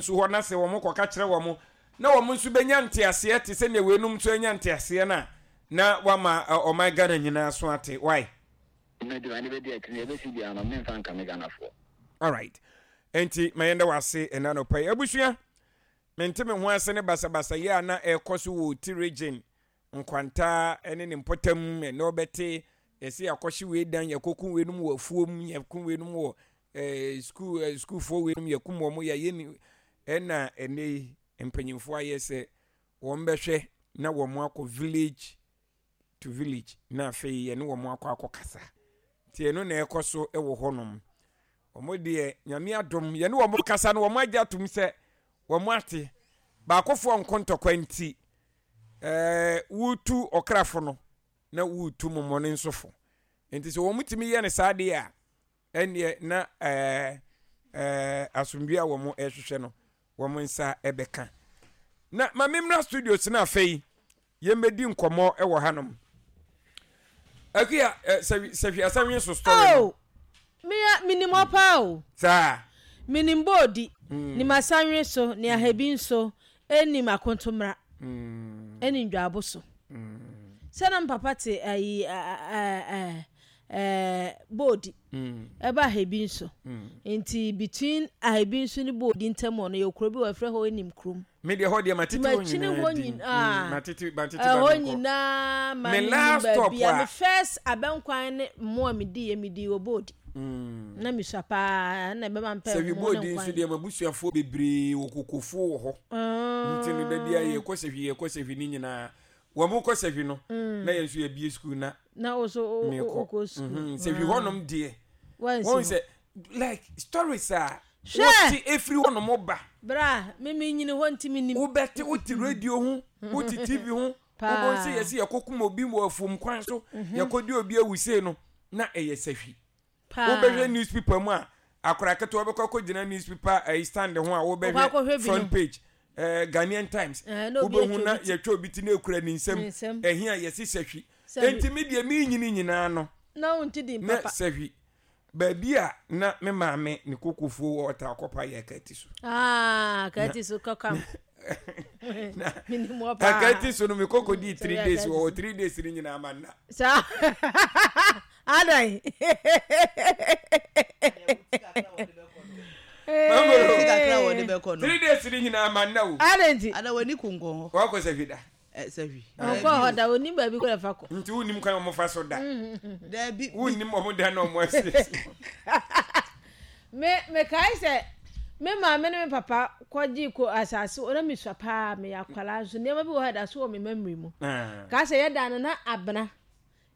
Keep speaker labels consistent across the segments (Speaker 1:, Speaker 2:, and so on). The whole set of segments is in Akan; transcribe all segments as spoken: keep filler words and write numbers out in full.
Speaker 1: so hɔ na sɛ wɔn kɔka kyerɛ wɔn na wɔn nso bɛnya nteaseɛ te sɛ nea weinom nso anya nteaseɛ no a, na wama ɔman Ghana nyinaa so ate. Why?
Speaker 2: Mɛdi ane bɛdi akyi na yɛbɛsi biara no, memfa nka me Ghanafoɔ.
Speaker 1: Alright. Enti ma yɛnda wase ɛna anɔpa yi. Abusua, mente me ho ase ne basabasa yi a na ɛrekɔ so wɔ Oti Region, Nkwanta ne ne mpɔtam. Ɛnɛ wɔbɛte yɛsɛ yɛakɔhye wei dan, yɛkɔku weinom wɔ afuom, yɛku weinom wɔ eh, sukuu eh, sukuufoɔ weinom, yɛkum wɔn, yɛayɛ ni. Ɛna ɛnɛ yi mpanyinfoɔ ayɛ sɛ wɔn bɛhwɛ na wɔn akɔ village to village na afei yɛne wɔn akɔ akɔkasa. Nti ɛno na ɛkɔ so wɔ hɔnom. Wɔn deɛ, Nyame adom, yɛne wɔn kasa no, wɔn agye atom sɛ wɔn ate. Baakofoɔ nko ntɔkwa nti, ɛɛ wotu ɔkrafo no na wotu momɔne nso fo. Nti sɛ wɔn tumi yɛ no saa deɛ a, ɛnneɛ na ɛɛ ɛɛ asomdwe a wɔn ɛrehwehwɛ no, wɔn nsa ɛbɛka. Na ma memmra studios no afei yɛmmɛdi nkɔmmɔ wɔ hanom. Akuya, sɛ sɛhwi asɛnwe so story no.
Speaker 3: Oh, mea menim hɔ paa o.
Speaker 1: Saa.
Speaker 3: Menim boodi, mm. Nim asanwe so, ne ahabi nso, ɛnim akontomra, mm. Ɛne ndwaabo so. Mm. Sɛ na papa te ayi ɛɛ ɛɛ boodi, ɛba ahabi nso. Nti between ahabi nso ne boodi ntam hɔ no, yɛ kuro bi wɔ ɛfrɛ hɔ enim kurom.
Speaker 1: Me deɛ hɔ deɛ matete hɔ nyinaa din. Matete matete ba
Speaker 3: ɛhɔ nyinaa ma
Speaker 1: me last stop
Speaker 3: a me first abɛnkwan ne mmoa me di yɛ me di wɔ boodi. Na me sua paa na ɛbɛma mpɛ
Speaker 1: mmoa ne nkwan. Sɛ boodi nso deɛ mabusuafoɔ bebree wɔ kokofoɔ wɔ hɔ. Nti no da bi a yɛkɔ sɛhwi yɛkɔ sɛhwi ne nyinaa. Wɔn kɔ sɛhwi no na yɛn nso yɛbie sukuu na
Speaker 3: na wo so wokɔ sukuu.
Speaker 1: Sɛhwi hɔnom deɛ wɔn sɛ like stories a wote efiri hɔnom ba.
Speaker 3: Bra, me me nyini hɔ nti me nim.
Speaker 1: Wobɛte wote radio ho, wote T V ho, wobɛhu sɛ yɛsɛ yɛkɔkum obi wɔ afuom kwan so, yɛkɔdi obi awusee no, na ɛyɛ sahwi. Wobɛhwɛ newspaper mu a, akora ketewa bɛkɔ akɔgyina newspaper ɛyi stand ho a wobɛhwɛ front page ɛɛ Ghanaian Times, wobɛhu na yɛtwa obi ti na ekura ne nsam, ɛhi a yɛsi sahwi. Enti me deɛ me nyini nyinaa no,
Speaker 3: na
Speaker 1: sahwi baabi a na me maame ne kokofuo wɔ ɔta akɔpa yɛ kati so.
Speaker 3: Aa, kati so kɔkam.
Speaker 1: Na akati so no, me koko di three days wɔ three days ni nyinaa ma nna.
Speaker 3: Saa adan.
Speaker 1: Three days ni nyinaa ma nna o.
Speaker 3: Adan ti.
Speaker 4: Ada w'ani ko nkɔ hɔ.
Speaker 1: Wakɔ sɛ da.
Speaker 4: Sɛhwi.
Speaker 3: Ɔkɔ hɔ da, onim baabi kɔ ɛfa kɔ.
Speaker 1: Nti wonim kwan ɔmo fa so da.
Speaker 4: Daabi.
Speaker 1: Wonim ɔmo da na ɔmo asiesie.
Speaker 3: Me mekae sɛ me maame ne me papa kɔgye ko asase wɔ na mesua paa, meyɛ akwadaa nso nneɛma bi wɔ hɔ ɛda so wɔ me memory mu. Kaa sɛ yɛda no na abena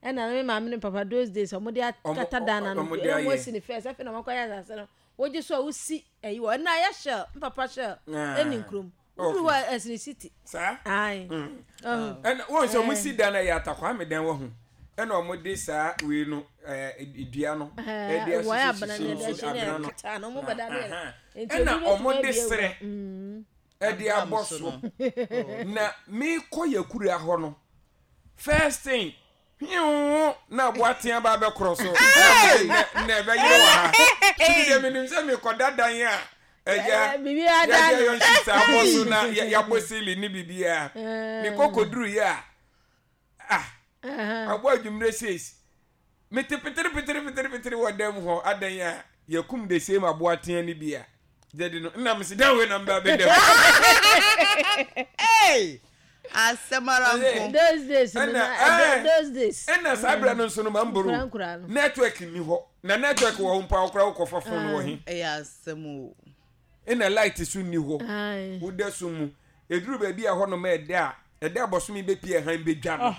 Speaker 3: ɛna na me maame ne me papa those days ɔmo de akata dan na no ɛna ɔmo asi ne first, afei na ɔmo akɔyɛ asase no wogye so a wosi ɛyi wɔ ɛna ayɛ shell, me papa shell ɛni nkurom woduru hɔ ɛsene city.
Speaker 1: Saa ɛna wɔn sɛ ɔmo si dan na yɛ atakwame dan wɔ ho, ɛna ɔmo de saa wei no ɛɛ dua no ɛde ahyehyɛ so abena no, ɛna ɔmo de serɛ ɛde abɔ so. Na mekɔ yɛ kura hɔ no, first thing hiu na aboa tea ba bɛkorɔ so na ɛbɛyere wɔ ha. Tumi deɛ menim sɛ mekɔda dan a ɛgya yɛde ayɔ nhyisa abɔ so na yɛabɔ ceiling ne biribiara. Mekɔ kɔduru yɛ a, ah, abɔ adwummerɛ seis, mete petere petere petere petere wɔ dan mu hɔ adan a yɛkum the same aboa tea no bi a gyadi no nna mese dan wei na mba bɛda mu.
Speaker 4: Asɛm ara nko.
Speaker 3: Those days no na those days.
Speaker 1: Ɛna saa berɛ no nso no mamboro network nni hɔ, na network wɔ hɔ mpo a wokora wokɔfa phone wɔ he?
Speaker 4: Ɛyɛ asɛm o.
Speaker 1: Ɛna light so nni hɔ, woda so mu ɛduru baabi a hɔnom ɛda a ɛda abɔsome bɛpie ɛhan bɛdwa no,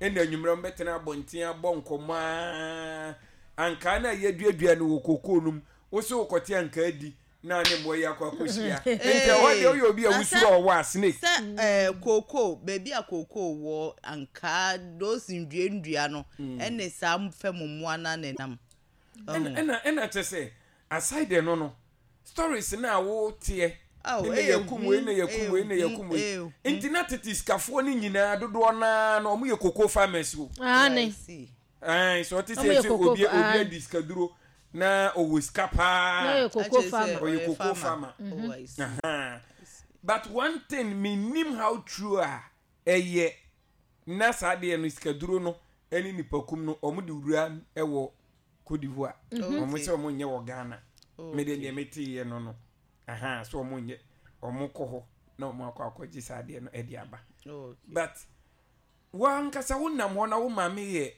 Speaker 1: ɛna anwummerɛ mbɛtena abɔnten abɔ nkɔmmɔ a ankaa no a yɛaduadua no wɔ kokoo no mu, wo sɛ wokɔte ankaa di na ne mmoa yi akɔ akɔhyia. Nti ɛhɔ deɛ woyɛ obi a wosuro ɔwɔ a, snake.
Speaker 4: Sɛ ɛɛ kookoo, baabi a kookoo wɔ, ankaa, those ndua ndua no, ɛne saa fam mmoa no na ɛnam.
Speaker 1: Ɛna ɛna kyɛ sɛ aside ɛno no, stories na a woteɛ ɛna yɛkum wei na yɛkum wei na yɛkum wei. Nti na tete sikafoɔ no nyinaa dodoɔ naa na wɔn yɛ cocoa farmers o.
Speaker 3: Aane.
Speaker 1: Ɛn sɛ ɔte sɛ sɛ obi obi adi sikaduro Na ɔwɔ sika paa.
Speaker 3: Na ɔyɛ cocoa farmer.
Speaker 1: Ɔyɛ cocoa farmer.
Speaker 4: Mm-hmm.
Speaker 1: But one thing menim how true a ɛyɛ na saa deɛ no sikaduro no ɛne nipakum no ɔmo de wura ɛwɔ Cote d'Ivoire. Ɔmo sɛ ɔmo nyɛ wɔ Ghana. Me de deɛ mete yɛ no no. Aha, so ɔmo nyɛ ɔmo kɔ hɔ na ɔmo akɔ akɔgye saa deɛ no ɛde aba. But wankasa wo nam hɔ na wo maame yɛ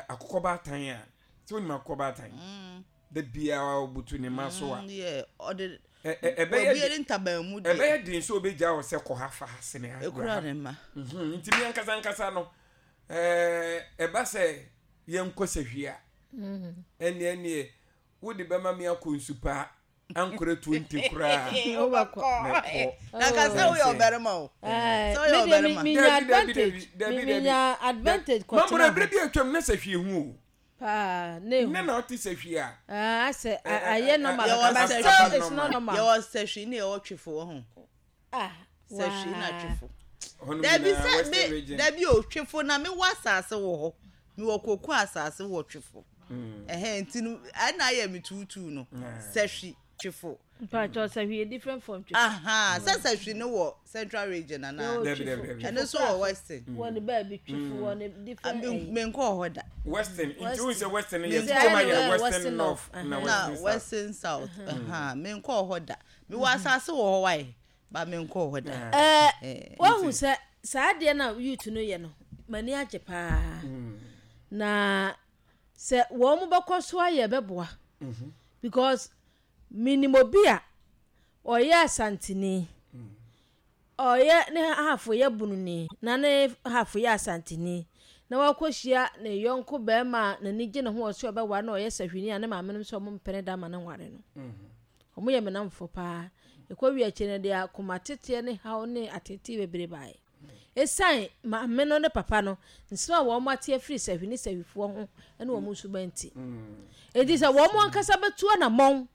Speaker 1: akokɔ baatan a sɛ wonim akokɔ baatan da biara wobutu ne ma so a ɛbɛyɛ den sɛ wobɛgya wo sɛ kɔ ha fa ha sene ha nti me ankasa ankasa no ɛba sɛ yɛnkɔ sɛ hwie a ɛneɛ ɛneɛ wode bɛma me akɔ nsu paa ankora twenty koraa
Speaker 4: mɛkɔ na ka sɛ woyɛ ɔbarima o sɛ woyɛ ɔbarima
Speaker 3: minya advantage minya advantage kɔtena
Speaker 1: maboro ebere bi atwam na sɛ hwie hu o
Speaker 3: paa ne hu
Speaker 1: ne na ɔte sɛ hwie a
Speaker 3: ah sɛ ayɛ normal but still it's not normal
Speaker 4: yɛwɔ sɛ hwie ne yɛwɔ twefo wɔ ho
Speaker 3: ah
Speaker 4: sɛ hwie na twefo dabi sɛ me dabi o twefo na me wɔ asase wɔ hɔ me wɔ koko asase wɔ twefo ɛhɛn nti no ɛna ayɛ me tuutuu no sɛ hwi twefo
Speaker 3: mpakyɛw sɛ hwi yɛ different from twefo
Speaker 4: aha sɛ sɛ hwi no wɔ central region ana ɛno nso wɔ western
Speaker 3: wɔ ne baabi twefo wɔ ne different ɛyi
Speaker 4: menkɔ hɔ da
Speaker 1: western nti wo sɛ western yɛ twefo ma yɛ western north
Speaker 4: na western south aha menkɔ hɔ da mewɔ asase wɔ hɔ wae ba menkɔ hɔ da
Speaker 3: ɛɛ wahu sɛ saa adeɛ na youth no yɛ no m'ani agye paa na sɛ wɔn mo bɛkɔ so ayɛ bɛboa because minim obi a ɔyɛ asantini ɔyɛ ne hafo yɛ bununi na ne hafo yɛ asantini na wakɔhyia ne yɔnko bɛrima a n'ani gye ne ho ɔsɛ ɔbɛware na ɔyɛ sahwini a ne maame no nso ɔmo mpene da ma ne nware no ɔmo yɛ menamfo paa ɛkɔ wi akyi no deɛ akoma teteɛ ne haw ne atete bebree baeɛ esan maame no ne papa no nsɛm a wɔn ate afiri sahwini sahwifoɔ ho ne wɔn nso bɛnti enti sɛ wɔn ankasa bɛtu anammɔn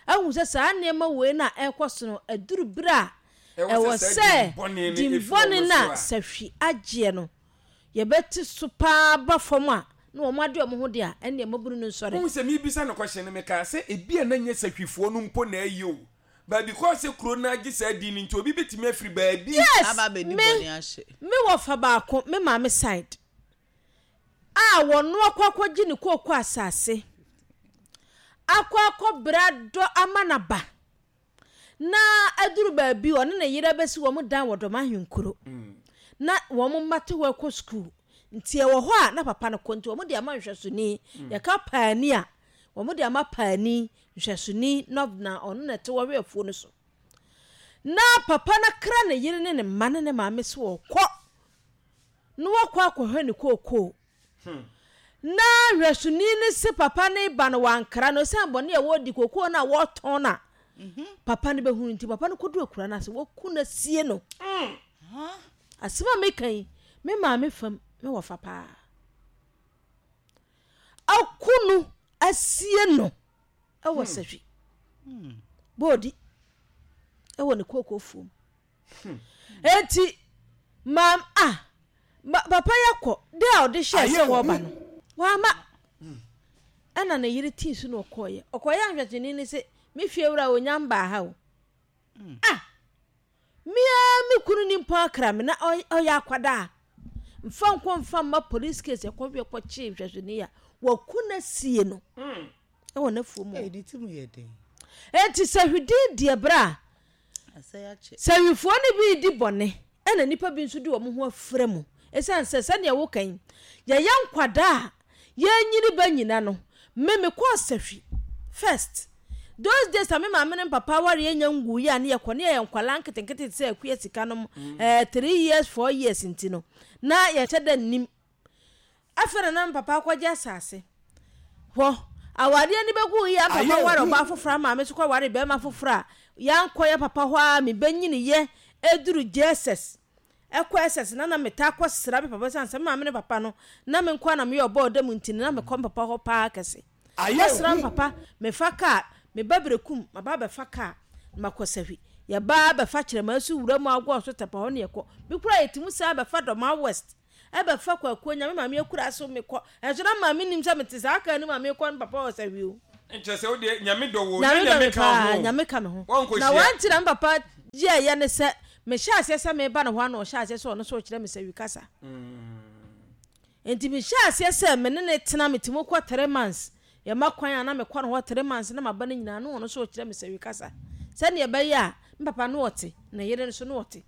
Speaker 3: ahu sɛ saa nneɛma wei na ɛrekɔ so no aduru bere a ɛwɔ sɛ dimbɔne na sahwi agyeɛ no yɛbɛte so paa ba fam a na wɔn ade wɔn ho de a ɛne mmabunu no nsɔre.
Speaker 1: Wohu sɛ mebisa no kɔhyɛ no mekaa sɛ ebi a na nyɛ sahwifoɔ no mpo na ɛyɛ o but because sɛ kuro no agye saa din no nti obi bɛtumi afiri baabi.
Speaker 3: Yes, me me wɔ fa baako me maame side a wɔno akɔ akɔgye ne kooko asase akɔ akɔ bra dɔ ama naba na aduru baabi ɔne ne yere bɛsi wɔn dan wɔ dɔm ahenkuro na wɔn mma te hɔ akɔ sukuu nti ɛwɔ hɔ a na papa no kɔ nti wɔn de ama nhwɛsoni yɛka paani a wɔn de ama paani nhwɛsoni na ɔno na ɛte wɔhwɛ afuo no so na papa no kra ne yere ne ne mma ne ne maame so wɔkɔ na wɔkɔ akɔhwɛ ne kookoo na nhwɛsoni ne se papa ne ba no wankra no ɛsiane bɔne a wɔdi kookoo no a wɔtɔn no a papa no bɛhunu nti papa no kɔdu akura no ase wɔku no sie no asɛm a meka yi me maame fam me wɔfa paa aku no asie no ɛwɔ sahwi boodi ɛwɔ ne kookoo fuom enti maam a papa yɛ kɔ de a ɔde hyɛ sɛ wɔba no wama ɛna ne yere tii so na ɔkɔɔyɛ ɔkɔɔyɛ ahwɛkyeni ne sɛ me fie wura onya mbaa ha o ah mia me kunu ni mpo akra me na ɔyɛ akwadaa mfa nkɔ mfa mma police case ɛkɔhwɛ kɔkye nhwɛsoni a wɔku na sie no ɛwɔ n'afuo mu enti sɛ hwidin deɛ berɛ a sɛ hwifoɔ no bi di bɔne ɛna nnipa bi nso de wɔn ho afra mu ɛsiane sɛ sɛdeɛ woka yi yɛyɛ nkwadaa a yɛnyini ba nyina no me mekɔɔ sahwi first those days a me maame ne papa ware yɛnya ngu yi a ne yɛkɔ ne yɛyɛ nkwalaa nketenkete sɛ akua sika nom ɛɛ three years four years nti no na yɛhyɛ da nnim afei na na papa akɔgye asase hɔ awadeɛ ni bɛgu yi a papa ware ɔbaa foforɔ ama me so kɔ ware bɛrima foforɔ a yɛankɔ yɛ papa hɔ a mebɛnyini yɛ eduru jesus ɛkɔ ss na na meta akɔ sra me papa sɛ ansɛ maame ne papa no na me nkɔ na meyɛ ɔbɔɔ da mu nti na mekɔ me papa hɔ paa kɛse kɔsra me papa mefa kaa meba berekum maba bɛfa kaa makɔ sahwi yɛbaa bɛfa kyerɛma so wura mu agɔ so tɛpa hɔ ne yɛkɔ me kura yɛtumi saa bɛfa dɔma west ɛbɛfa kwakuo nyame maame akura so mekɔ ɛnso na maame nim sɛ mete saa kaa no maame kɔ ne papa wɔ sahwi o
Speaker 1: Nkyɛ sɛ wodeɛ Nyame dɔ wo,
Speaker 3: Nyame
Speaker 1: na
Speaker 3: dɔ me
Speaker 1: Nyame ka
Speaker 3: paa,
Speaker 1: ho.
Speaker 3: Nyame ka me ho.
Speaker 1: Wɔnkɔhyia.
Speaker 3: Na wɔnti na me papa yɛɛyɛ ne sɛ mehyɛ aseɛ sɛ meba ne hɔ a na ɔhyɛ aseɛ sɛ ɔno nso ɔkyerɛ me sɛ wi kasa. Nti mehyɛ aseɛ sɛ me ne ne tena, metumi kɔ three months. Yɛma kwan a na mekɔ ne hɔ three months na maba no nyinaa na ɔno nso ɔkyerɛ me sɛ wi kasa. Sɛdeɛ ɛbɛyɛ a me papa no ɔte, ne yere nso no ɔte.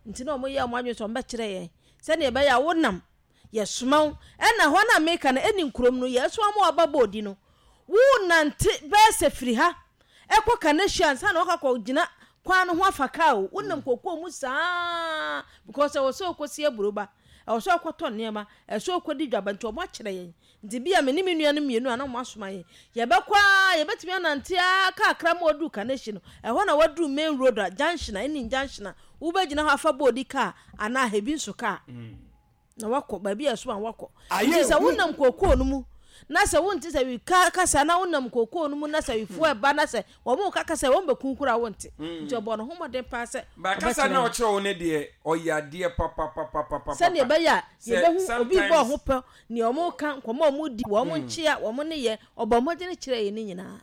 Speaker 3: Nti na ɔmo yɛ ɔmo adwene sɛ ɔmo bɛkyerɛ yɛn. Sɛdeɛ ɛbɛyɛ a wonam yɛsoma wo. Ɛna hɔ na meka no ɛni nkurom no yɛsoma mo aba bɔɔdi no. Wo nante bɛyɛ sɛ firi ha ɛkɔ Kaneshie ansa na wakɔ gyina kwan no ho afa kaa o. Wonam kokoo mu saa because ɛwɔ sɛ wokɔsi aburoba, ɛwɔ sɛ wokɔtɔ nneɛma, ɛwɔ sɛ wokɔdi dwaba, nti ɔmo akyerɛ yɛn. Nti bi a me ne me nua no mmienu a na ɔmo asoma yɛn, yɛbɛkɔ a yɛbɛtumi anante a kakra ma waduru Kaneshie no, ɛhɔ na waduru main road a junction a ɛne junction a wobɛgyina hɔ afa bɔɔdi kaa anaa hebi nso kaa na wakɔ baabi a ɛso a wakɔ. Nti sɛ wonam kokoo no mu na sɛ wonte sɛ wi ka kasa na wonam kokoo no mu na sɛ wifoɔ ɛba na sɛ wɔn ka kasa wɔn bɛku kora wonte. Nti ɔbɔ ne ho mmɔden paa sɛ
Speaker 1: Ba kasa na ɔkyerɛ wo ne deɛ ɔyɛ adeɛ papapapapapa.
Speaker 3: Sɛnea ɛbɛyɛ a
Speaker 1: Sɛ
Speaker 3: yɛbɛhu obi bɔ
Speaker 1: sometimes-
Speaker 3: ho pɛ nea ɔmo ka, nkɔmɔ a ɔmo di, wɔn nkyea wɔn ne yɛ, ɔbɔ mmɔden kyerɛ yɛn ne nyinaa.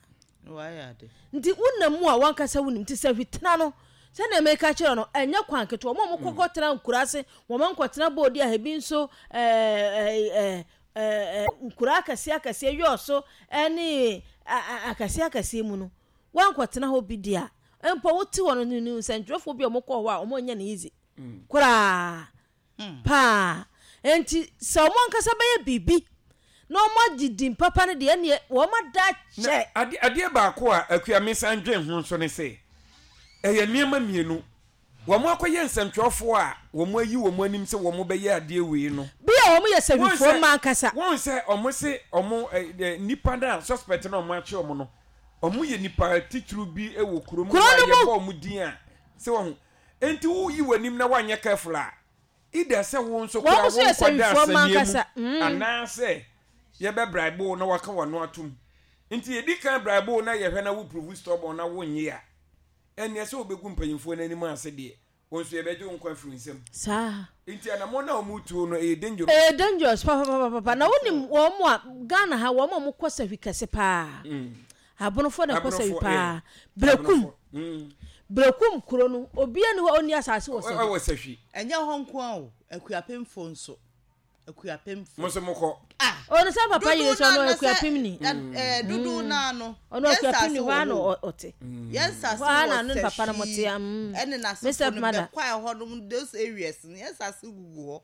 Speaker 4: Wayɛ ade.
Speaker 3: Nti wonam mu a wankasa wonim. Nti sɛ hwitena no sɛnea meka kyerɛ no, ɛnyɛ kwan ketewa. Ɔmo a ɔmo kɔkɔ tena nkura ase, wɔn nkɔtena boodi a ebi nso ɛɛ ɛɛ ɛɛ nkura akɛseɛ akɛseɛ yɔɔ so ɛne akɛseɛ akɛseɛ mu no, wankɔtena hɔ bi di a mpo wote hɔ no ne nsɛntwerɛfoɔ bi a ɔmo kɔɔ hɔ a ɔmo nyɛ no easy koraa paa. Nti sɛ ɔmo ankasa bɛyɛ biribi na ɔmo agye din papa no deɛ, ɛneɛ wɔn ada
Speaker 1: Na
Speaker 3: kyɛ.
Speaker 1: ade adeɛ baako a Akua mesan dwen ho nso ne sɛ ɛyɛ nneɛma mmienu. Wɔn akɔyɛ nsɛntwerɛfoɔ a wɔn ayi wɔn anim sɛ wɔn bɛyɛ adeɛ wei no,
Speaker 3: bi a wɔn yɛ
Speaker 1: Wɔn
Speaker 3: sɛwifoɔ
Speaker 1: sɛ-
Speaker 3: mma ankasa.
Speaker 1: Wɔn sɛ ɔmo se ɔmo ɛ ɛ nipa na suspect na ɔmo akye ɔmo no, ɔmo yɛ nipa titiriw bi wɔ kurom
Speaker 3: Kuro
Speaker 1: a
Speaker 3: no mu.
Speaker 1: yɛbɔ ɔmo din a sɛ wɔn nti woyi w'anim na wanyɛ careful a, either sɛ wo nso
Speaker 3: Wɔn
Speaker 1: kora
Speaker 3: nso yɛ
Speaker 1: wo nkɔda
Speaker 3: sɛwifoɔ mma
Speaker 1: asɛnniɛ
Speaker 3: ankasa.
Speaker 1: mu
Speaker 3: Mm.
Speaker 1: anaasɛ yɛbɛ bribe wo na waka w'ano atom. Nti yɛdi kan bribe wo na yɛhwɛ na wo prove stubborn na wonyɛ a, ɛnneɛ sɛ wobɛgu mpanyimfoɔ no anim ase deɛ, wɔn nso yɛbɛgye wo nkwa afiri nsam.
Speaker 3: Saa.
Speaker 1: Nti anammɔn na ɔmo tuo no ɛyɛ dangerous.
Speaker 3: Ɛyɛ dangerous papapapapa. Na wonim wɔn mo a Ghana ha, wɔn a wɔkɔ sahwi kɛse paa, Abonofoɔ na ɛkɔ sahwi
Speaker 1: Abonofoɔ,
Speaker 3: paa.
Speaker 1: yeah.
Speaker 3: Brekum.
Speaker 1: Abonofoɔ. Mm.
Speaker 3: Brekum kuro no, obiara ni hɔ a ɔnni asase wɔ sahwi.
Speaker 1: Ɛwɔ sahwi.
Speaker 4: Ɛnyɛ hɔ nko a o, Akuapemfo nso, Akuapemfo.
Speaker 1: Mo nso mokɔ.
Speaker 4: Ah.
Speaker 3: Ɔno sɛ papa yere sɛ ɔno Akuapem ni.
Speaker 4: Dodoɔ naa no
Speaker 3: Ɔno Akuapem ni, hɔ a na ɔ- ɔte.
Speaker 4: Yɛn nsase
Speaker 3: Hɔ a na
Speaker 4: wɔ
Speaker 3: ne papa no mote,
Speaker 4: Sahwi
Speaker 3: mm.
Speaker 4: ɛne
Speaker 3: Mister
Speaker 4: n'asefo no
Speaker 3: Mother.
Speaker 4: bɛkwae hɔ nom, those areas no, yɛn nsase gugu hɔ.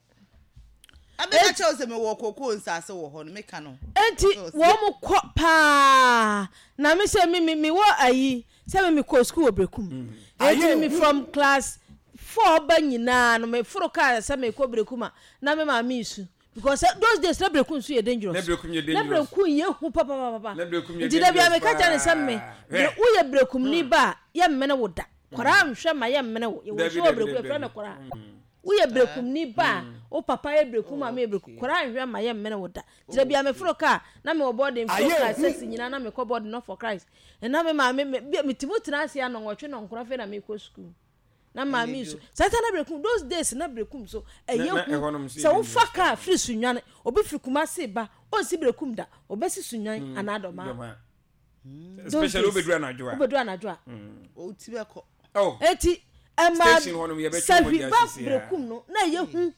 Speaker 4: Abɛka kyerɛw sɛ mewɔ kokoo nsase wɔ hɔ no, meka no.
Speaker 3: Enti wɔn mo kɔ paa. Na mi sɛ mi mi mi wɔ ayi sɛ mi mi kɔ sukuu wɔ Brekum, eti mi from class four ba nyinaa no, mi foro kaa sɛ mi kɔ Brekum a, na mi maame isu because eh, those days na Brekum nso yɛ dangerous.
Speaker 1: Na Brekum yɛ
Speaker 3: Na
Speaker 1: dangerous.
Speaker 3: Brekum yɛ hu papapapa.
Speaker 1: Na Brekum yɛ
Speaker 3: Nti dabi a
Speaker 1: dangerous
Speaker 3: meka kyerɛ ne sɛ me
Speaker 1: paa.
Speaker 3: bre-
Speaker 1: Hwɛ.
Speaker 3: woyɛ Brekum ni ba a, yɛ mmene wo da koraa, nhwɛ ma yɛ mmene wo. Yɛwɔ
Speaker 1: Dabi,
Speaker 3: nsuo wɔ
Speaker 1: dabi,
Speaker 3: Brekum
Speaker 1: dabi,
Speaker 3: yɛfrɛ no
Speaker 1: dabi.
Speaker 3: koraa. Woyɛ Brekum ni ba a, wo papa yɛ Brekum, maame yɛ Brekum, koraa nhwɛ ma yɛ mmene wo da. Nti dabi a meforo kaa na mewɔ boarding, foro kaa six nyinaa na mekɔ boarding not for Christ, ɛna me maame me bi- metimu tena ase anɔnwɔtwe nɔnkoro, afei na mekɔ sukuu na maame nso saa ta. Na Brekum those days na Brekum so ɛyɛ
Speaker 1: Na- na
Speaker 3: hu
Speaker 1: ɛhɔnom nso yɛ
Speaker 3: sɛ wofa
Speaker 1: dangerous.
Speaker 3: kaa firi Sunyane, obi firi Kumase ba, ɔnsi Brekum da, ɔbɛsi Sunyan anaa Dɔmaa.
Speaker 1: Dɔmaa.
Speaker 3: Those
Speaker 1: Especially
Speaker 3: days.
Speaker 1: wobɛduru anadwo a.
Speaker 3: Wobɛduru anadwo a.
Speaker 4: Oti bɛkɔ.
Speaker 1: Oh.
Speaker 3: Eti ɛma
Speaker 1: Station hɔ nom yɛbɛtwe
Speaker 3: sahwi
Speaker 1: mogya
Speaker 3: ba
Speaker 1: sisi a.
Speaker 3: Brekum no na ɛyɛ hu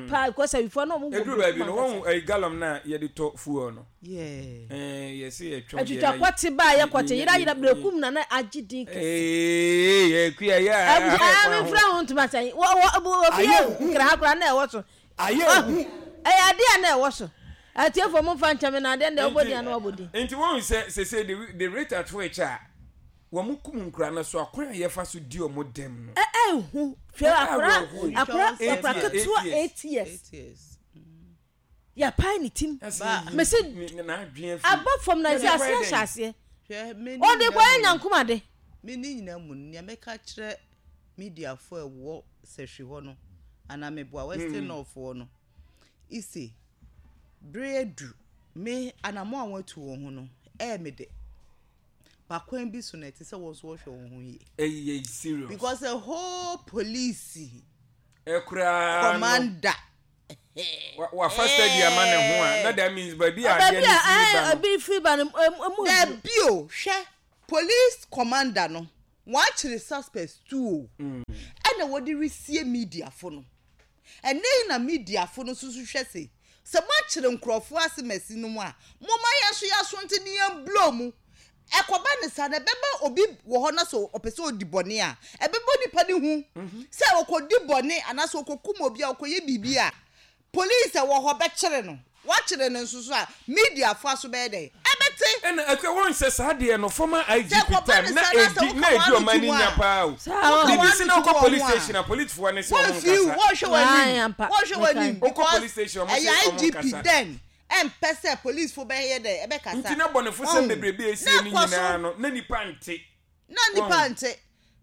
Speaker 3: paa because sahwifoɔ na ɔmo wɔ
Speaker 1: Ɛduru baabi
Speaker 3: Brekum
Speaker 1: no,
Speaker 3: ankasa.
Speaker 1: wɔn ɛyi gallon na yɛde tɔ fuel no.
Speaker 4: Yeah.
Speaker 1: Ɛɛ yɛsi yɛtwɛn.
Speaker 3: Atwitwa kɔte ba a yɛ kɔte yerayera, Brekum na na agye din kɛse.
Speaker 1: Ee, Ekuya yɛ a.
Speaker 3: Ɛɛ mefra ho ntoma sɛn wɔ wɔ obi yɛ nkira ha koraa na ɛwɔ so.
Speaker 5: Ayɛ
Speaker 3: Ɛyɛ adeɛ a na ɛwɔ so. Atiefoɔ mo nfa nkyɛn mi na adeɛ na ɛwɔ di ano wɔbɔ din.
Speaker 1: Nti wɔn sɛ sese the the rate at which a wɔn kum nkura no so, akwan a yɛfa so di wɔn dɛm no.
Speaker 3: Ɛ ɛhu hwɛ akora
Speaker 1: Awerɛhoɔ.
Speaker 3: akora
Speaker 1: Eight
Speaker 3: akora
Speaker 1: years,
Speaker 3: ketewa,
Speaker 1: eight years.
Speaker 3: eight years.
Speaker 4: Eight years.
Speaker 3: Yɛpae ne tim.
Speaker 1: Ɛsɛ
Speaker 3: Mese
Speaker 1: yi- ne- n'adwene afiri.
Speaker 3: aba fam na
Speaker 1: Yɛde
Speaker 3: nsi aseɛ
Speaker 1: kɔyɛ
Speaker 3: hyɛ
Speaker 1: dɛn?
Speaker 3: aseɛ.
Speaker 4: Hwɛ, me ne
Speaker 3: Ɔde
Speaker 4: nyinaa
Speaker 3: kɔyɛ
Speaker 4: mu-
Speaker 3: nyankomade.
Speaker 4: Me ne nyinaa mu no, nea mɛka kyerɛ mediafoɔ a ɛwɔ Sɛhwi hɔ no anaa meboa Western North hɔ no ise bere adu me anammɔ a wɔatu wɔn ho no, ɛyɛ me de bakwan bi so na ɛte sɛ wɔn nso wɔhwɛ wɔn ho yie.
Speaker 1: Ɛyi yɛ serious.
Speaker 4: Because a whole police
Speaker 1: Ɛkoraa no.
Speaker 4: commander
Speaker 1: Wafa steady ama ne ho a, na that means baabi a adeɛ no firi ba no.
Speaker 3: Ebi firi ba no emu.
Speaker 4: Dabi o, hwɛ, police commander no wɔakyere suspects two o, ɛna wɔde resie mediafo no. Ɛnɛ yi na mediafo no nso so hwɛ se sɛ moakyere nkurɔfoɔ ase masi no mu a, momma yɛn nso yɛaso nti ne yɛn blow mu. Ɛkɔba ne saa na ɛbɛba obi wɔ hɔ na sɛ ɔpɛ sɛ ɔdi bɔne a, ɛbɛbɔ nipa ne hu sɛ ɔkɔdi bɔne anaasɛ ɔkɔkum obi a, ɔkɔyɛ biribi a, police a wɔ hɔ bɛkyere no. Wakyere no nso so a, mediafo aso bɛyɛ dɛn? Ɛbɛte.
Speaker 1: Ɛna akua wɔn sɛ saa deɛ no former I G P
Speaker 4: Sɛ kɔba
Speaker 1: time
Speaker 4: ne
Speaker 1: na
Speaker 4: saa na sɛ
Speaker 1: edi
Speaker 4: woka
Speaker 1: na edi
Speaker 4: w'ano
Speaker 1: ɔman
Speaker 4: to
Speaker 1: ni
Speaker 4: mu
Speaker 1: nya
Speaker 4: a,
Speaker 1: paa o.
Speaker 3: Saa
Speaker 4: woka
Speaker 1: Bibi si
Speaker 4: w'ano
Speaker 1: na
Speaker 4: to
Speaker 1: ɔkɔ
Speaker 4: mu
Speaker 1: police
Speaker 4: a,
Speaker 1: station a, policefoɔ ne sɛ ɔmo
Speaker 4: wɔmfi
Speaker 1: nkasa.
Speaker 4: wɔnhwɛ
Speaker 3: Ae,
Speaker 4: w'anim
Speaker 3: ampa.
Speaker 4: Wɔnhwɛ w'anim
Speaker 1: Wokɔ
Speaker 4: because
Speaker 1: police station, ɔmo
Speaker 4: ɛyɛ
Speaker 1: sɛ ɔmo
Speaker 4: I G P
Speaker 1: nkasa.
Speaker 4: then ɛmpɛ sɛ policefoɔ bɛyɛ dɛ ɛbɛkasa.
Speaker 1: Nti na bɔnefo sɛm
Speaker 4: Ɔn.
Speaker 1: bebrebe esie
Speaker 4: Na
Speaker 1: ne
Speaker 4: ɛkɔ so.
Speaker 1: nyinaa no na nipa nte.
Speaker 4: Na nipa
Speaker 1: Wɔn.
Speaker 4: nte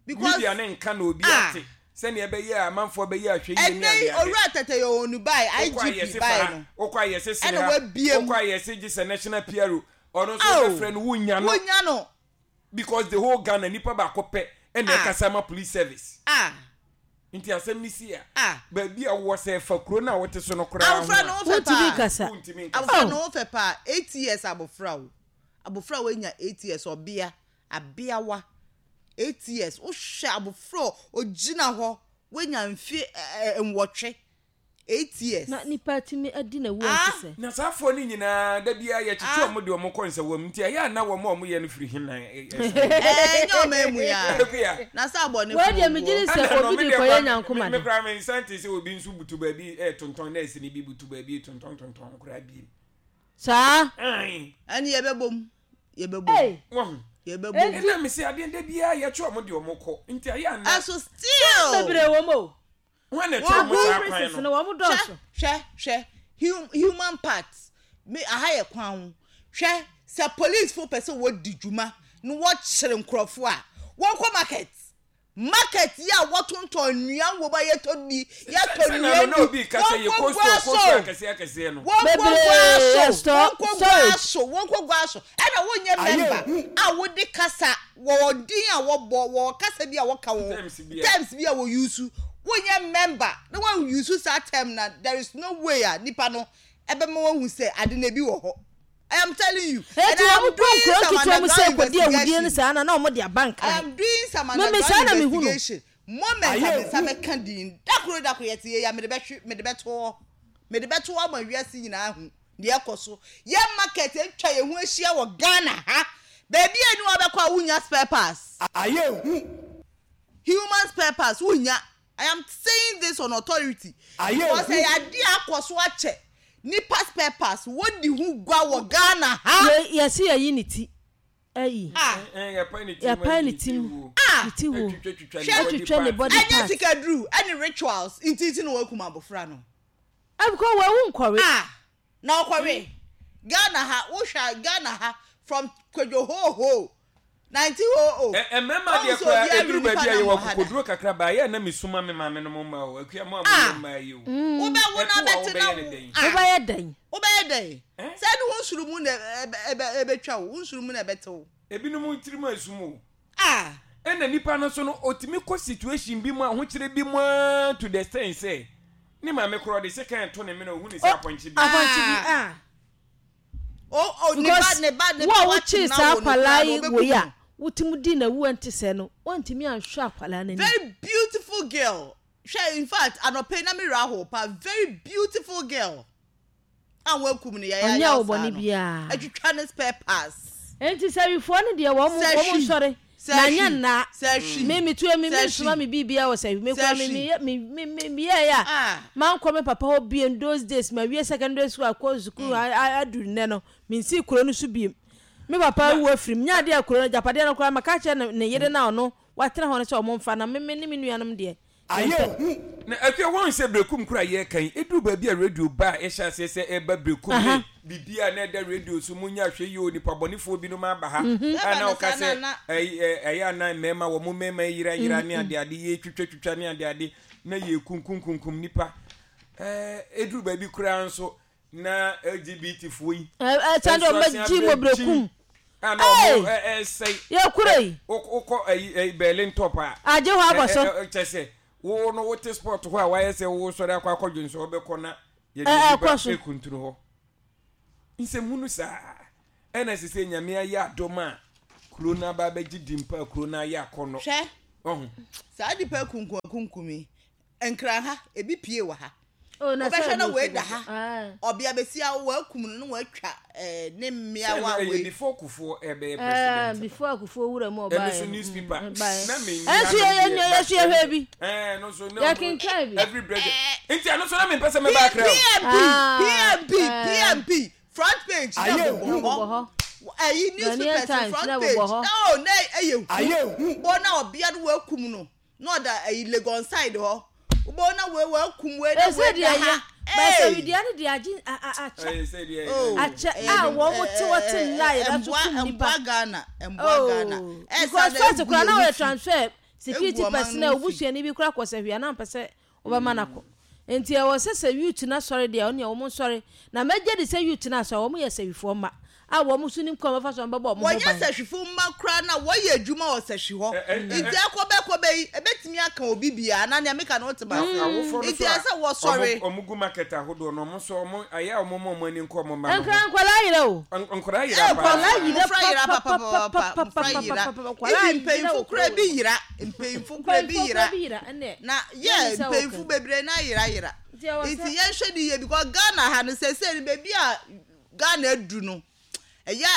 Speaker 4: because
Speaker 1: Media ne nka na obi
Speaker 4: Ah.
Speaker 1: ate sɛnea ɛbɛyɛ a amanfoɔ bɛyɛ ahwɛ yie ne
Speaker 4: ɛnɛ yi
Speaker 1: ade ade.
Speaker 4: Owura Tɛtɛ yɛ onu bae
Speaker 1: Wokɔ
Speaker 4: I G P
Speaker 1: ayɛse
Speaker 4: bae
Speaker 1: fa ha,
Speaker 4: no
Speaker 1: wokɔ ayɛse sene
Speaker 4: ɛna
Speaker 1: ha,
Speaker 4: wabie mu.
Speaker 1: wokɔ ayɛse gye sɛ national P R O ɔno nso
Speaker 4: Aw.
Speaker 1: wobɛfrɛ no, wonya no
Speaker 4: wonya no
Speaker 1: because the whole Ghana nipa baako pɛ ɛna
Speaker 4: Ah.
Speaker 1: ɛkasa ma police service.
Speaker 4: Ah.
Speaker 1: Nti asɛm ne si a,
Speaker 4: Ah.
Speaker 1: baabi a wowɔ sɛ ɛfa kuro no a wote so no koraa ho
Speaker 4: Abofra no
Speaker 1: a
Speaker 4: ho fɛ
Speaker 3: Wontumi
Speaker 4: paa.
Speaker 3: kasa.
Speaker 1: Wontumi nkasa.
Speaker 4: Abofra no ho fɛ paa, eight years abofra o, abofra a wanya eight years, ɔbea abeawa eight years. Wohwɛ abofra a ogyina hɔ wanya mfe ɛ, ɛ, nwɔtwe, eight years.
Speaker 3: Na nipa tumi adi na wu
Speaker 4: Ah.
Speaker 3: nti sɛ
Speaker 1: Na saa afoɔ no nyinaa da biara yɛkyekye
Speaker 4: Ah.
Speaker 1: ɔmo de ɔmo kɔ nsɛwɔ mu, nti ɛyɛ a na wɔn a ɔmo yɛ no firi hena?
Speaker 4: Ɛɛ, nyɛ ɔma emu ya
Speaker 1: Akua.
Speaker 4: na sɛ abɔne.
Speaker 3: Wei deɛ megye di sɛ
Speaker 1: Ɛna no,
Speaker 3: obi
Speaker 1: me
Speaker 3: de
Speaker 1: deɛ
Speaker 3: kɔyɛ
Speaker 1: koraa- me-
Speaker 3: nyankomade.
Speaker 1: me koraa me nsa nte sɛ obi nso butu baabi ɛtontɔn nɛɛse ne bi butu baabi tontɔn tontɔn koraa bi.
Speaker 3: Saa.
Speaker 1: Ae.
Speaker 4: Ɛne yɛbɛbom, yɛbɛbom.
Speaker 3: Ei.
Speaker 1: Wɔn
Speaker 4: Yɛbɛbom.
Speaker 1: ɛna me sɛ adeɛ da biara yɛtwe ɔmo de ɔmo kɔ, nti ɛyɛ a na
Speaker 4: ɛso still
Speaker 3: bebree wɔ mu o.
Speaker 1: Wɔn na ɛtwe ɔmo saa kwan
Speaker 3: Prisons
Speaker 1: no.
Speaker 3: no wɔn dɔɔso.
Speaker 4: Hwɛ, hwɛ, hwɛ, human parts me aha yɛ kwan ho. Hwɛ, sɛ police fo pɛ sɛ wɔdi dwuma na wɔkyere nkurɔfoɔ a, wɔnkɔ market, market yi a wɔtontɔn nnua wɔ mu a yɛtɔ bi, yɛtɔ
Speaker 1: Sɛ na
Speaker 4: nnua
Speaker 1: no na obi
Speaker 4: bi.
Speaker 1: ka sɛ yɛ
Speaker 4: Wɔnkɔ
Speaker 1: kɔ
Speaker 4: gua
Speaker 1: store, kɔ
Speaker 4: so.
Speaker 1: store akɛseɛ akɛseɛ no.
Speaker 4: Wɔnkɔ
Speaker 3: Bebree,
Speaker 4: gua so.
Speaker 3: store-
Speaker 4: Wɔnkɔ gua
Speaker 3: storage.
Speaker 4: so, wɔnkɔ gua so. Ɛna wonyɛ member a wode kasa wɔ din a wɔbɔ wɔ kasa bi a wɔka wɔ
Speaker 1: Terms bi a-
Speaker 4: terms bi a wɔ use. Wonyɛ member na wɔn use saa term na there is no way a nipa no ɛbɛma wɔn hu sɛ ade na ebi wɔ hɔ. I am telling you.
Speaker 3: Eti wɔn kɔ nkuro nketewa mu sɛ kɔdi awudie no saa na na wɔn de aba
Speaker 4: I
Speaker 3: Nkran.
Speaker 4: am doing some
Speaker 3: Meme,
Speaker 4: underground
Speaker 3: saa na mehu no.
Speaker 4: investigation. Moment a me nsa bɛka din dakoro dakoro yɛte yɛ ya, mede bɛhwe, mede bɛto hɔ, mede bɛto hɔ ama wiase nyinaa hu deɛ ɛkɔ so. Yɛ market atwa yɛn ho ahyia wɔ Ghana ha, baabi a ni wabɛkɔ a wonya spare parts,
Speaker 5: Ayé hu.
Speaker 4: human spare parts wonya. I am saying this on authority.
Speaker 5: Ayé
Speaker 4: because
Speaker 5: hu.
Speaker 4: ɛyɛ adeɛ akɔ so akyɛ, nipa spare parts wodi ho gua wɔ Ghana ha.
Speaker 3: Yɛ yɛsi yɛyi ne ti ɛyi.
Speaker 4: Ah.
Speaker 1: Ɛn, yɛpae ne ti mu
Speaker 3: Yɛpae
Speaker 1: ayi
Speaker 3: ne ti mu.
Speaker 1: wuo.
Speaker 4: Ah.
Speaker 3: Ne ti wo.
Speaker 1: Atwitwa
Speaker 4: Hwɛ.
Speaker 1: ne
Speaker 3: Atwitwa ne
Speaker 1: body
Speaker 3: body
Speaker 4: Ɛnyɛ
Speaker 3: part.
Speaker 4: sikaduru ɛne rituals nti nti na wɔakum abɔfra no.
Speaker 3: Ɛbikɔ wɔwu nkɔre.
Speaker 4: Ah, na ɔkɔwe Ghana ha, wohwɛ Ghana ha from Kwadwo Hoho nineteen oh oh.
Speaker 1: Ɛ- mmarima deɛ koraa ɛduru baabi a yɛwɔ akokoduro kakra baa yɛ na mesoma me maame no mo mma o, Akua mo a moyɛ mmaa yi o.
Speaker 4: Wobɛwo na
Speaker 1: Ɛto a
Speaker 4: bɛte na
Speaker 1: wobɛyɛ ne
Speaker 4: wo
Speaker 1: dɛn?
Speaker 4: Ah,
Speaker 3: Wobɛyɛ dɛn?
Speaker 4: Wobɛyɛ dɛn?
Speaker 1: Eh?
Speaker 4: Sɛ ɛde wo nsuru mu na ɛbɛ- ɛbɛ- ɛbɛtwa wo wo nsuru mu na ɛbɛte wo.
Speaker 1: Ebinom tirim asum o.
Speaker 4: Ah.
Speaker 1: Ɛna nipa no so no otumi kɔ situation bi mu a ahokyere bi mu aa to the extent sɛ ne maame korɔ de sekan to ne mene ohun ne sɛ apɔnkye bi.
Speaker 3: Apɔnkye bi ah.
Speaker 4: O o, ne ba
Speaker 3: Because
Speaker 4: ne ba ne
Speaker 3: wo
Speaker 4: ba
Speaker 3: a
Speaker 4: wakye
Speaker 3: wokyee
Speaker 4: na
Speaker 3: saa
Speaker 4: wo no
Speaker 3: akwalaa
Speaker 4: koraa
Speaker 3: yi
Speaker 4: no,
Speaker 3: wei
Speaker 4: ɔbɛkum
Speaker 3: a
Speaker 4: no.
Speaker 3: wotumi di na wu ɛnte sɛ no wɔntumi anhwɛ akwalaa n'anim.
Speaker 4: Very beautiful girl. Hwɛ, in fact anɔpɛ yi na mi ra ho pa, very beautiful girl a wɔakum no yɛyɛ.
Speaker 3: Ɔnyɛ wo bɔne biara.
Speaker 4: Atwitwa ne spare parts.
Speaker 3: Enti sɛwifoɔ no deɛ wɔn
Speaker 4: Sɛ
Speaker 3: wɔn
Speaker 4: hwi.
Speaker 3: nsɔre
Speaker 4: Sɛ
Speaker 3: na
Speaker 4: hwi.
Speaker 3: nyɛ nnaa.
Speaker 4: Sɛ hwi.
Speaker 3: Me me tuo mi
Speaker 4: Sɛ
Speaker 3: mi nsoma
Speaker 4: hwi.
Speaker 3: mi biribiara wɔ sɛ mi
Speaker 4: Sɛ
Speaker 3: kura mi
Speaker 4: hwi.
Speaker 3: mi yɛ mi mi mi mi yɛ yɛ a
Speaker 4: Ah.
Speaker 3: mankɔ me papa hɔ biem. Those days ma wie secondary school akɔ sukuu aduru nnɛ no mi nsi kuro no so biem. Me papa wu afiri mu nyaade a kuro no japadeɛ no koraa ma ka kyerɛ ne ne yere na ɔno watena hɔ no sɛ ɔmo nfa na me me ne me nuanom deɛ.
Speaker 5: Ayé hu.
Speaker 1: Na Akua wɔn sɛ Brekum kura yɛ kan eduru baabi a radio ba a ɛhyɛ aseɛ sɛ ɛba Brekum
Speaker 3: Aha.
Speaker 1: ne biribi a na ɛda radio so mu nya ahwɛ yie o, nipa bɔnefoɔ binom aba ha
Speaker 3: Mhm.
Speaker 1: a na
Speaker 4: Ɛba ne
Speaker 1: ɔka
Speaker 4: saa
Speaker 1: sɛ
Speaker 4: na- na-
Speaker 1: ɛy- ɛ- ɛyɛ ana mmarima wɔn mo mmarima yira yira ne ade ade yɛ twitwa twitwa ne ade ade na yɛ kunkum nipa. Ɛɛ eduru baabi koraa nso na L G B T foɔ yi
Speaker 3: ɛ ɛ sani
Speaker 1: nso
Speaker 3: ɔmo
Speaker 1: asen
Speaker 3: gyi mo
Speaker 1: abɛ
Speaker 3: Brekum.
Speaker 1: A na ɔmo
Speaker 3: Hey!
Speaker 1: ɛ ɛsɛe.
Speaker 3: Yɛ kuro yi.
Speaker 1: Wokɔ ɛyi ɛyi Berlin Top a
Speaker 3: agye hɔ abɔ so.
Speaker 1: Ɛ- ɛ- ɛ- kyɛ sɛ wo no wote sport hɔ a wayɛ sɛ wo sɔre akɔ akɔdwe nso wobɛkɔ na Yɛde
Speaker 3: Ɛ-
Speaker 1: nipa
Speaker 3: ɛkɔ so.
Speaker 1: ekuntunu hɔ. Nsɛmhunu saa ɛna sɛ sɛ Nyame ayɛ adom a kuro no aba abɛgye di mpa a kuro no ayɛ akɔnnɔ.
Speaker 4: Hwɛ.
Speaker 1: Ɔho.
Speaker 4: Saa nipa kunkum akunkum yi, Nkran ha ebi pie wɔ ha.
Speaker 3: Oh, na
Speaker 4: Wobɛhwɛ
Speaker 3: sɛ
Speaker 4: na
Speaker 3: ɛno
Speaker 4: wei
Speaker 3: nso
Speaker 4: da
Speaker 3: wɔ-
Speaker 4: ha.
Speaker 3: Ah.
Speaker 4: Ɔbea besia wɔakum no na wɔatwa ɛɛ ne mmeawa.
Speaker 1: Sɛ ɛyɛ
Speaker 4: Wei
Speaker 1: before Kufuor ɛbɛyɛ
Speaker 3: Eh,
Speaker 1: president.
Speaker 3: before Akufuo wura mu
Speaker 1: Ɛno
Speaker 3: ɔbaeɛ
Speaker 1: so
Speaker 3: no.
Speaker 1: newspaper
Speaker 3: Mm, baeɛ.
Speaker 1: na menyi
Speaker 3: Ɛnso yɛ- yɛ- yɛ- yɛso yɛhwɛ bi.
Speaker 1: ɛɛ no so na
Speaker 3: Yɛkenkan bi.
Speaker 1: Every president nti ɛno so na mempɛ sɛ mɛba Accra o.
Speaker 4: P M P
Speaker 3: Ah,
Speaker 4: P M P
Speaker 3: eh.
Speaker 4: P M P front page na
Speaker 5: Ayé
Speaker 4: bobɔ
Speaker 5: hu.
Speaker 3: Bobɔ
Speaker 4: hɔ.
Speaker 3: hɔ.
Speaker 4: Ɛyi
Speaker 3: Ghanaian
Speaker 4: newspapers
Speaker 3: Times
Speaker 4: front
Speaker 3: na
Speaker 4: page
Speaker 3: bobɔ hɔ.
Speaker 4: na o na ɛyɛ
Speaker 5: Ayé hu.
Speaker 4: bɔ na ɔbea no wɔakum no na ɔda ɛyi Legon side hɔ bɔ na wei wɔakum wei na
Speaker 3: Ɛsɛ
Speaker 4: wei
Speaker 3: deɛ
Speaker 4: da
Speaker 3: yɛ
Speaker 4: ha.
Speaker 3: bɛsɛ widua no de agye a- a- akyɛ.
Speaker 1: Ɛyɛ sɛ deɛ
Speaker 4: Oh.
Speaker 3: Akyɛ
Speaker 4: Ɛyɛ
Speaker 3: a
Speaker 4: dum-
Speaker 3: wɔn mo te hɔ te
Speaker 4: ɛ-
Speaker 3: nna a yɛda so
Speaker 4: ɛmboa-
Speaker 3: kum nipa.
Speaker 4: Ɛmboa Ghana, ɛmboa Ghana.
Speaker 3: Oh,
Speaker 4: Ɛsa
Speaker 3: because
Speaker 4: na
Speaker 3: first
Speaker 4: egu
Speaker 3: kora na
Speaker 4: yɛn
Speaker 3: wɔyɛ
Speaker 4: ho fi.
Speaker 3: transfer security
Speaker 4: Egu ɔman
Speaker 3: personnel
Speaker 4: no ho fi.
Speaker 3: obusuani bi kora kɔ sɛ hwea na mpɛ sɛ wɔbɛma no akɔ, nti ɛwɔ sɛ sɛ youth na sɔre deɛ ɔne wɔn sɔre na mɛgye de sɛ youth na asɔre, wɔn yɛ sɛwifoɔ mma a wɔn nso nim kwan bɛfa so wɔn bɛbɔ wɔn ho
Speaker 4: Wɔnyɛ
Speaker 3: ban.
Speaker 4: sɛhwifo mma koraa na wɔyɛ adwuma wɔ sɛhwi hɔ.
Speaker 1: Ɛ- ɛ- ɛ-
Speaker 4: Nti ɛkɔbɛkɔbɛ yi ebɛtumi aka obi bia na nea meka no wote ma.
Speaker 1: Awofoɔ no
Speaker 4: Nti
Speaker 1: so a
Speaker 4: ɛsɛ wɔsɔre.
Speaker 1: ɔmo ɔmo gu market ahodoɔ no, ɔmo nso ɔmo ayɛ a ɔmo ma ɔmo ani nkɔ ɔmo mma no
Speaker 3: Nkran
Speaker 1: ho.
Speaker 3: nkwadaa yerɛ o.
Speaker 1: N- nkwadaa
Speaker 4: Ɛ,
Speaker 1: yera paa.
Speaker 3: Nkwadaa yera.
Speaker 4: Mmɔfra yera papapapa, mmɔfra yera.
Speaker 3: Nkwadaa
Speaker 4: Ibi mpanyinfo
Speaker 3: yera.
Speaker 4: koraa bi yera, mpanyinfo koraa bi
Speaker 3: Mpanyinfoɔ
Speaker 4: yera.
Speaker 3: koraa bi yera ɛnɛ.
Speaker 4: Na yɛ
Speaker 3: Yɛn sɛ
Speaker 4: mpanyinfo
Speaker 3: wɔka.
Speaker 4: bebree na yera yera.
Speaker 3: Nti ɛwɔ sɛ-
Speaker 4: Nti yɛnhwɛ ne yie because Ghana ha no sɛsɛ no, beebi a Ghana adu no ɛyɛ.